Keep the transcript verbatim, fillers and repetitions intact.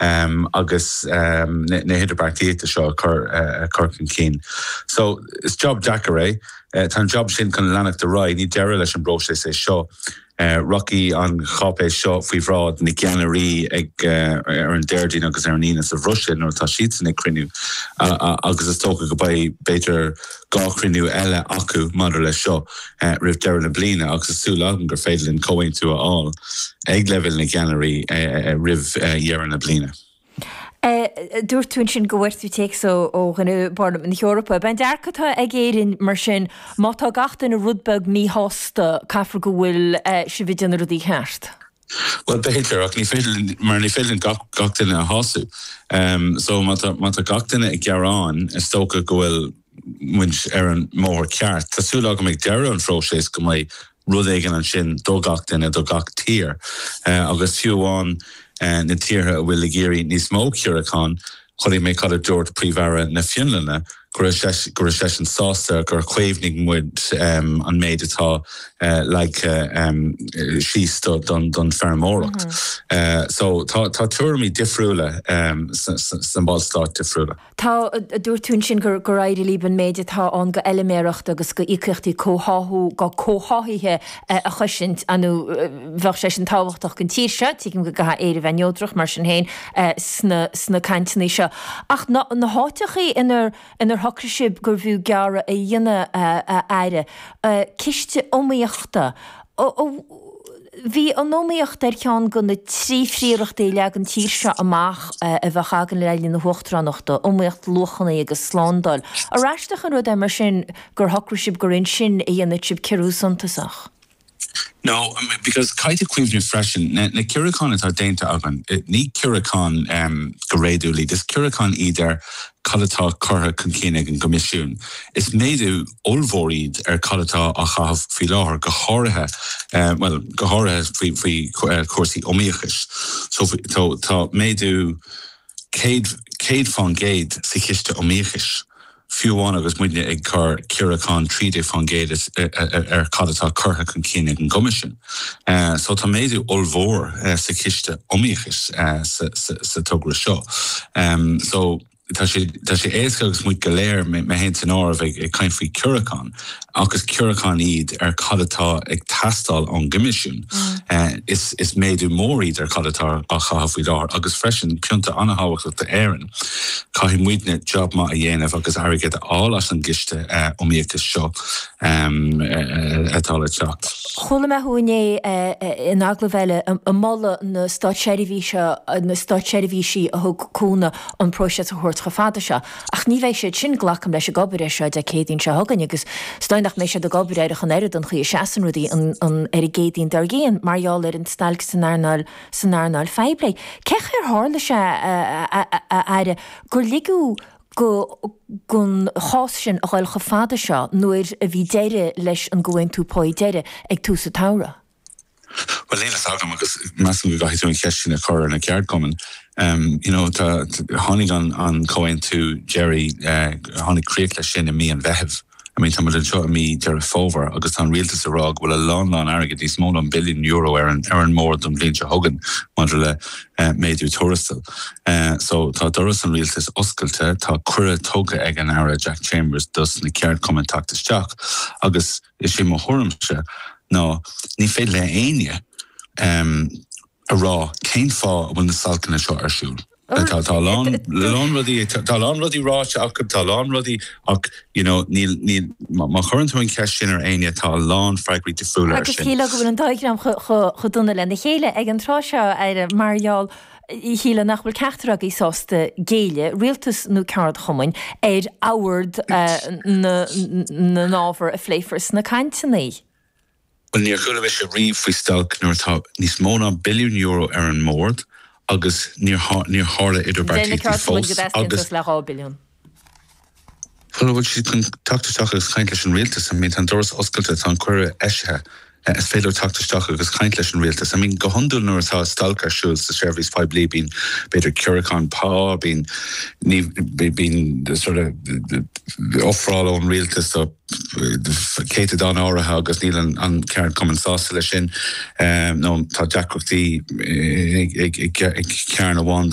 um, agus um, na, na hidirbheartaíochta seo a chur uh, chur chun cinn. So is job deacair é, uh, tá an job sin chun leanacht ar aghaidh, ní deireadh leis an bpróiseas é seo. Uh, Rachaidh an cháipéis seo faoi bhráid na gceannairí ag uh, ar an Déardaoin agus ar an Aoine sa Bhruiséil nuair atá siad ag cruinniú uh, uh, agus is dócha go mbeidh b'fhéidir dhá chruinniú eile acu maidir leis seo uh, roimh deireadh na bliana agus is súil agam gur féidir linn comhaontú a fháil ag leibhéal na gceannairí uh, uh, roimh uh, dheireadh na bliana. Dúirt tú ansin go bhfuair tú téacs ó dhuine Pharlaimint na hEorpa. B'in dearcadh atá ag Éirinn mar sin má tá gach duine rud beag míshásta caithfidh go bhfuil sibh ag déanamh rudaí ceart. Well b'fhéidir ach ní féidir mar ní féidir gach gach duine a shásamh. Um, so má tá gach duine ag gearán is dócha go bhfuil muid ar an mbóthar ceart. Tá súil agam ag deireadh an phróisis go mbeidh rud éigin ansin do gach duine do gach tír. Uh, agus fiú amháin uh, na tíortha a bhfuil ag iarraidh níos mó ciorrúchán, chonaic mé cad a dúirt Príomh-Aire na Fionlainne go raibh seisean sásta gur chaomhnaigh muid um, an méid atá uh, leagtha um, síos don, don feirmeoireacht. Mm -hmm. uh, so tá, tá tuairimí difriúla um, sna ballstáit difriúla. Tá dúirt tú ansin gur gur éirigh libh an méid atá ann d'fheilméaracht agus d'íocaíochtaí comhtháthú go comhtháthaithe a chosaint nó bheadh sé sin tábhachtach don tír seo, tuigim go gcaithfidh Éire bheith neodrach mar sin féin sna, sna cainteanna seo. Ach na, na háiteachaí inar inar shocraigh sibh gurbh fhiú gearradh a dhéanamh a Aire. Ciste iomaíochta. Bhí an iomaíocht ar cheann de na trí phríorachtaí a leag an tír seo amach a bheadh againn le linn na huachtaránachta, iomaíocht luachanna agus slándáil. Ar aisteach an rud é mar sin gur shocraigh sibh gur ansin a dhéanfadh sibh ciorrú suntasach. No, because caithfidh cuimhneamh freisin na, na ciorrúcháin atá déanta againn ní ciorrúcháin um, go réadúil iad, is ciorrúcháin iad ar cad atá curtha chun cinn ag an gCoimisiún. Is méadú ollmhór iad ar cad atá á chaitheamh faoi láthair go háirithe uh, well, go háirithe faoi faoi uh, cúrsaí iomaíochais. So tá, tá méadú céad céad faoin gcéad sa chiste iomaíochais. Fiú amháin agus muidne ag cur ciorrúchán trí déag faoin gcéad ar cad atá curtha chun cinn ag an gCoimisiún. Uh, so tá méadú ollmhór uh, sa chiste iomaíochais uh, sa, sa, sa togra seo. Um, so tá sé tá sé éasca agus muid go léir mé féin san áireamh ag ag caint faoi chiorrúcháin agus ciorrúcháin iad ar cad atá ag teastáil ón gCoimisiún. Mm. Uh, is, is méadú mór iad ar cad atá á chaitheamh faoi láthair agus freisin pointe an-thábhachtach d'Éirinn. Caithfidh muidne job maith a dhéanamh agus airgead a fháil as an gciste uh, iomaíochais seo um, uh, atá le teacht. Chuala mé thú inné in agallamh eile ag moladh na státseirbhíse na státseirbhísí a thug cúnamh an próiseas a thabhairt chomh fada seo. Ach ní bheidh siad sin glacaim leis ag obair air seo Dé Céadaoin seo chugainn agus is dóigh nach mbeidh siad ag obair air ach an oiread an chaoi a seasann rudaí an, an ar an gCéadaoin dár gcionn mar gheall ar an stailc san earnáil san earnáil phoiblí. Cé chaoi ar tharla sé a, a, a Aire gur ligeadh go don chás sin a ghoil chomh fada seo nuair a bhí deireadh leis an gcomhaontú pá deiridh ag tús an tsamhraidh. Well níl a fhios agam agus measaim go gcaithfidh tú an cheist sin a chur ar na ceardchumainn. Um, you know, tá tháinig an, an comhaontú deiridh uh, tháinig críoch leis sin i mí an Mheithimh. I mean, tá seo i mí Deireadh Fómhair agus tá an rialtas ag rá go bhfuil a lán lán airgead níos mó ná billiún euro ar an ar an mbord don bhliain seo chugainn maidir le uh, méadú tuarastail. Uh, so tá doras an rialtais oscailte tá cuireadh tugtha ag an Aire Jack Chambers dos na ceardchumainn teacht isteach agus is é mo thuairimse ná ní féidir le éinne um, a rá cén fáth a bhfuil na stailceanna seo ar siúl. Tá tá lán lán rudaí tá lán rudaí ráite acu tá lán rudaí ach you know, níl níl má chuireann tú an cheist sin ar éinne tá lán freagraí difriúla Agus shílfeá go bhfuil an dá dhream chomh dona lena chéile ag an tráth seo ar mar gheall shílfeá nach bhfuil ceachtar agaibh sásta géilleadh, rialtas nó ceardchumainn ar ord na n-ábhar a phléifear sna cainteanna. Well níor chuala mise riamh faoi stailc nuair atá níos mó ná billiún euro ar an mbord agus níor níor tharla idirbheartaíochtaí fós agus le dhá billiún. Well bhfuil siad chun teacht isteach agus caint leis an rialtas I mean tá an doras oscailte tá an cuireadh eisithe is féidir teacht isteach agus caint leis an rialtas. I mean go hiondúil nuair atá stailc ar siúl sa seirbhís poiblí bíonn b'fhéidir ciorrúchán pá bíonn ní bíonn sort of ofráil ón rialtas do céatadán áirithe agus níl an, an ceardchumann sásta leis sin um, nó tá deacrachtaí ag cearn amháin